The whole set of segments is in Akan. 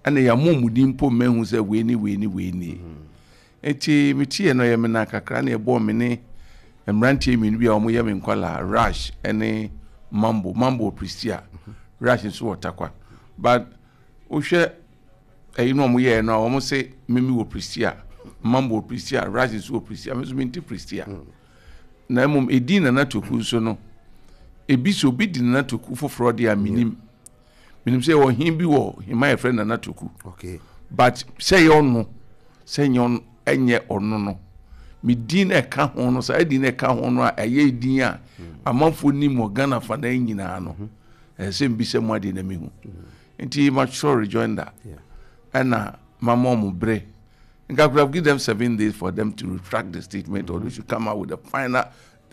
Ɛna yɛamɔ mu din mpo mmahu sɛ wei ne wei ne wei nie. Nti metie no, yɛ me na kakra na yɛbɔɔ me ne mmeranteɛ mmienu bi a wɔyɛ me nkwalaa, Rush ne Mambo. Mambo wɔ Prestea, Rush nso wɔ Takwa. But wohwɛ ɛyi no a wɔyɛɛ no a, wɔn se mimi wɔ Prestea, Mambo wɔ Prestea, Rush nso wɔ Prestea, me nso mente Prestea. Na mmom edin Nana Toku nso no, ebi sɛ obi di Nana Toku foforɔ deɛ a, menim. Menim sɛ yɛwɔ hen bi wɔ hema yɛfrɛ Nana Toku. But sɛ ɛyɛ ɔno, sɛ nyɛ ɔno, ɛnyɛ ɔno no, me din na ɛka ho no, saa din na ɛka ho no a ɛyɛ din a amanfoɔ nim wɔ Ghana fa na nyinaa no, ɛsɛ sɛ mbisa mu adeɛ na mehu. Nti matwerɛ rejoinder ɛna mama ɔmo berɛ. Nka I could have given them 7 days for them to retract the statement or they should come out with the final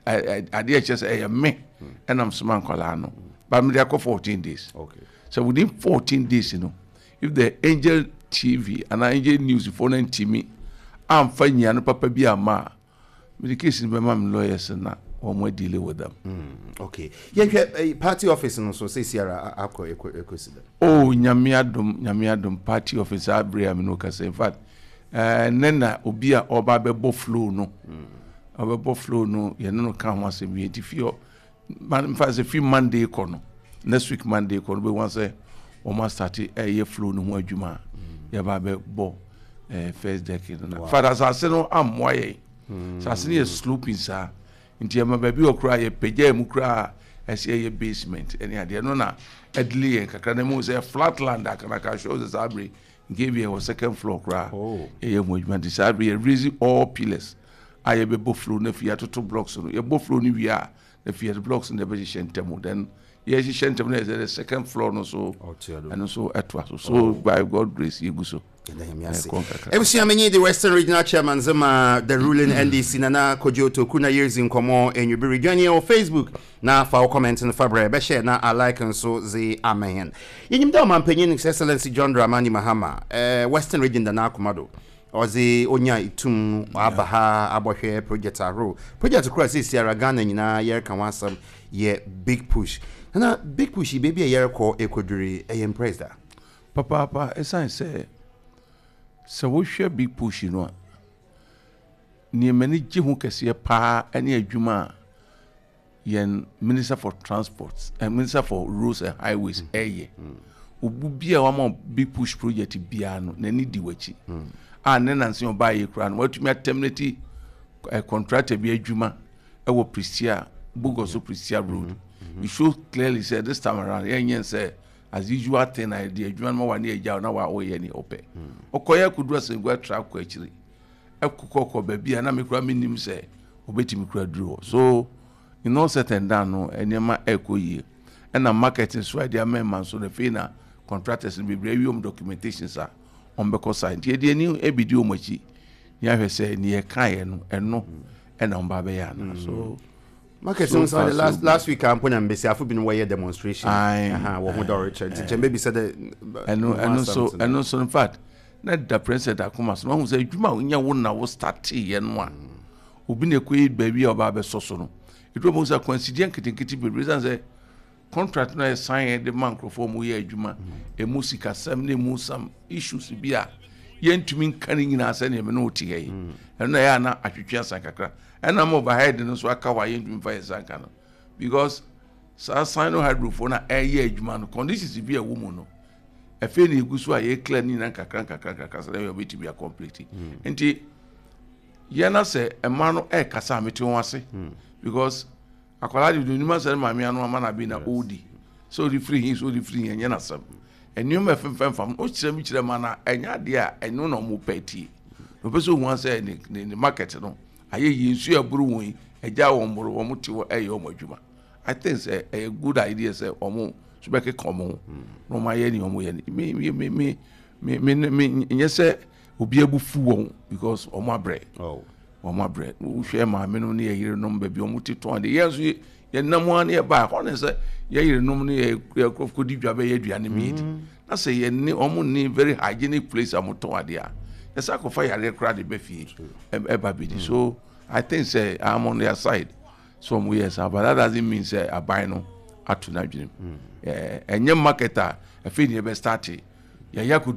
adeɛ ɛkyerɛ sɛ ɛyɛ me ɛnam soma nkwadaa no. But mede akɔ 14 days. So within 14 days if the Angel TV and Angel News foɔ no ntumi amfa nyia no papa bi ama a, mede case no bɛma me lawyers na wɔn deal with them. Okay, yɛhwɛ party office no so seesiara akɔ ɛkɔsi dɛ? Oh, Nyame adom, Nyame adom, party office abere a me no kasa, in fact, ne na obi a ɔba bɛbɔ floor no, ɔbɛbɔ floor no, yɛne no ka ho asɛm wie. Nti fi hɔ mfa sɛ fi Monday kɔ no, next week Monday kɔ no, bɛhu sɛ wɔn astart ɛyɛ floor no ho adwuma a yɛba bɛbɔ first deck no. Na fada asase no ammoa yɛn, asase no yɛ sloping saa, nti ɛma baabi wɔ koraa yɛpagya mu koraa ɛsɛ ɛyɛ basement ɛne adeɛ no na ɛdelay yɛn kakra. Na mu sɛ flat land akanaka hwɛ sɛ saa bere nke bi yɛwɔ second floor koraa yɛyɛ ho adwuma. Nti saa bere yɛ raise all pillars a yɛbɛbɔ floor no, afei yɛatoto blocks no. Yɛbɔ floor no wie a, na afei yɛde blocks no yɛbɛhyehyɛ ntɛm, then yɛhyehyɛ ntɛm no, yɛ sɛ the second floor no so ɛno nso ɛtoa so. By God grace, yɛgu so. Ebusua, menye the Western Regional Chairman zema the ruling NDC, Nana Kojo Toku, na yɛredzi nkɔmmɔ enwibere. Join yɛn wɔ Facebook na fa wo comment no fa brɛ, bɛhyɛ na a like nso dze ama hɛn. Yɛnyim dɛ ɔmampanyin His Excellency John Dramani Mahama, Western Region da n'akoma do. Ɔdze onya itum aba ha abɔhwɛ project ahorow. Project koro a seesiara Ghana nyinaa yɛreka ho asɛm yɛ Big Push. Nana, Big Push yi, baabi a yɛrekɔ ekodwiri, ɛyɛ impressed a? Papaapa, ɛsiane sɛ wohwɛ Big Push no a, nneɛma ni gye ho kɛseɛ paa ne adwuma a yɛn Minister for Transport and Minister for Roads and Highways ɛyɛ. Obu bi a wama Big Push project biara no, n'ani di w'akyi a ne nansi ɔbaa yɛ kura no, watumi aterminate contractor bi adwuma ɛwɔ Prestea, Bogoso Prestea Road. It shows clearly sɛ this time around yɛn nyɛ sɛ as usual thing na yɛde adwuma no ma wa ne agya na wa ɔyɛ ne ɔpɛ. Ɔkɔyɛ akɔduru Asɛngu atra akɔ akyiri ɛkokɔkɔ baabi a na me kura me nim sɛ obetumi kura duru hɔ. So in all certain dan no, nneɛma ɛkɔ yie. Ɛna market nso a yɛde ama ɛma nso na afei na contractors no bebree awie wɔn documentations a wɔn bɛkɔ saa. Nti yɛde ani ebidi wɔn akyi ne ahwɛ sɛ nea yɛkaeɛ no, ɛno ɛna wɔn ba bɛyɛ ana so. Market no nso last week ampo na mbesiafo binom wɔyɛ demonstration wɔ ho dɛ ɔrekyerɛ, nti kyɛn bɛbi sɛ dɛ Ɛno nso in fact na da President akoma so na ɔhu sɛ adwuma a wonya wo na wo starteeɛ no a, obi na ɛkɔyi baabi a ɔba abɛsɔ so no, ɛduru ɔmo sɛ akwansideɛ nketenkete bebree sane sɛ contract no a yɛsan yɛ de ma nkurɔfoɔ a wɔyɛ adwuma, ɛmu sikasɛm ne ɛmu some issues bi a yɛntumi nka no nyinaa sɛdeɛ me ne wo te ha yi. Ɛno na ɛyɛ a na atwetwe asan kakra, ɛna ma overhead no nso aka hɔ a yɛntumi fa yɛ nsa nka no, because saa Sinohydrofoɔ no a ɛyɛ adwuma no, conditions bi a ɛwɔ mu no, afei na egu so a yɛ clear ne nyinaa nkakra nkakra nkakra sɛ ɛyɛ ɔbɛtumi acomplete. Nti yɛn na sɛ mmaa no ɛrekasa a, mete wɔn ase, because akwadaa de onim asɛ ne maame ano ama na bi na ɔredi sɛ ɔde firi hin, sɛ ɔde firi hin, ɛnyɛ n'asɛm. Nneɛma ɛfɛnfɛn fam ɔkyerɛ mi kyerɛ ma na ɛnyɛ adeɛ a ɛno na ɔmo pɛ tie na ɔpɛ sɛ ohun asɛ ne market no ayɛ yie. Nsuo ɛboro wɔn yi ɛgya wɔn boro, wɔn te hɔ ɛyɛ wɔn adwuma. I think sɛ ɛyɛ good idea sɛ wɔn so bɛkeka wɔn ho na wɔn ayɛ nea wɔn yɛ no. Mi nyɛ sɛ obi abufu wɔn, because wɔn abrɛ. Wɔn abrɛ. Wohwɛ maame no ne yɛ yerenom baabi wɔn te tɔn de, yɛn nso yɛn nam ha ne yɛ ba hɔ ne sɛ yɛ yerenom ne yɛ kɔdi dwa bɛyɛ aduane mi di na sɛ yɛn ne wɔn ne very hygienic place a wɔn tɔn adeɛ a, yɛsɛ akɔfa yareɛ koraa de bɛ fie ɛba bi di. So I think sɛ I'm on their side so wɔn yɛ saa, but that doesn't mean sɛ aban no ato n'adwene mu. Ɛnyɛ market a afei ne yɛbɛ start yɛyɛ akɔduru.